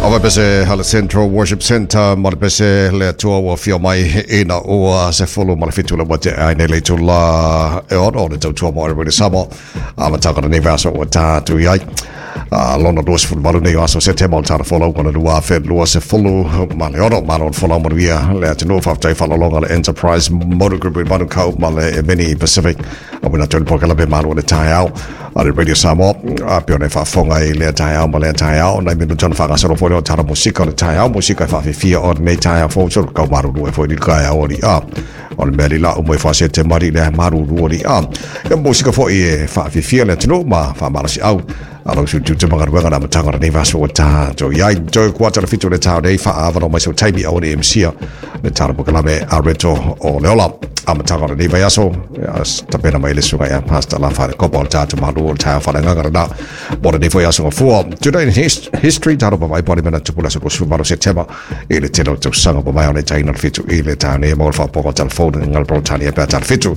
Ava pese hala Central Worship Center ma le pese le atua ua fia mai ina ua se fulu ma le fitu le wate ai nei le tula e ono le tautua mo Everybody Samoa a mataka nei vaso ua tātu i ai. A lona 28 nei o aso Setema o le tala folau o le 2026 ma le folau manuia le atunuu. Faafetai faalologa le Enterprise Motor Group i Manukau ma le Mini Pacific a wina tolu pokela pe malu o le taeao a le Radio Samoa a pe ona e faafofoga i lea taeao ma lea taeao nai minuta ona faagasolo foi lea o tala musika o le taeao musika e faafifia o lenei taeao fou solo kau maruru e foi li taeao ali a o le mea li la umai faa te mari le maruru ali a e musika foi e faafifia le atunuu ma faamalosiau alo su tu te magaruega na matanga nei vaso o tā to iai toi kuata le fitu le tau nei whaavano mai so taimi au ne MC le tala pokalame a reto o leola a matanga nei vai aso tapena mai le sunga ia pasta la whare kopa o tātu malu o tā whare ngangara nā mo nei foi aso fua today in history taro pa vai pari mena tupula so su maro September i le telo tau sanga pa mai o le taina le fitu i le tā nei mo le whapoka telefone ngal pro tani e pē tala fitu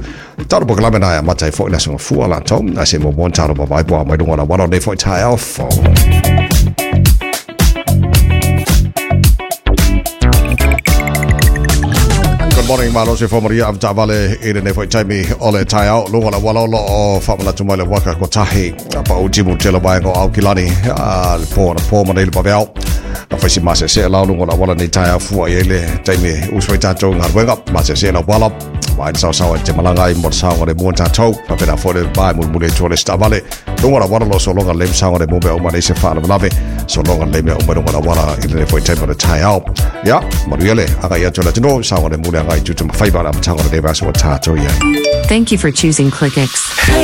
taro pokalame nā ia matai foi le aso fua la tau a se mo mon taro pa vai po mai lunga la wano nei foi tai au fo. Good morning, malo se fo maria am tavale i le nei foi taimi o le tai au lunga la wala lo o whamanatu mai le waka ko tahi pa o timu tele waenga o Aukilani a le pō na pō ma nei le paveau a whaisi mase se lau lunga la wala nei tai au fua i le taimi uswai tātou ngā ruenga mase se lau wala mai sao sao te malanga i mo sao le mo tātou pa pena fo le vai mu le tole stavale lunga la wala lo so longa le sao le mo be o ma nei se wha lave so longa le me o mai lunga la wala i le foi taimi o le tai au ia maru le aga ia tō la tino sao le mu le aga i tutu mawhaiba la matanga le vaso o tātou ia. Thank you for choosing ClickX. Hey!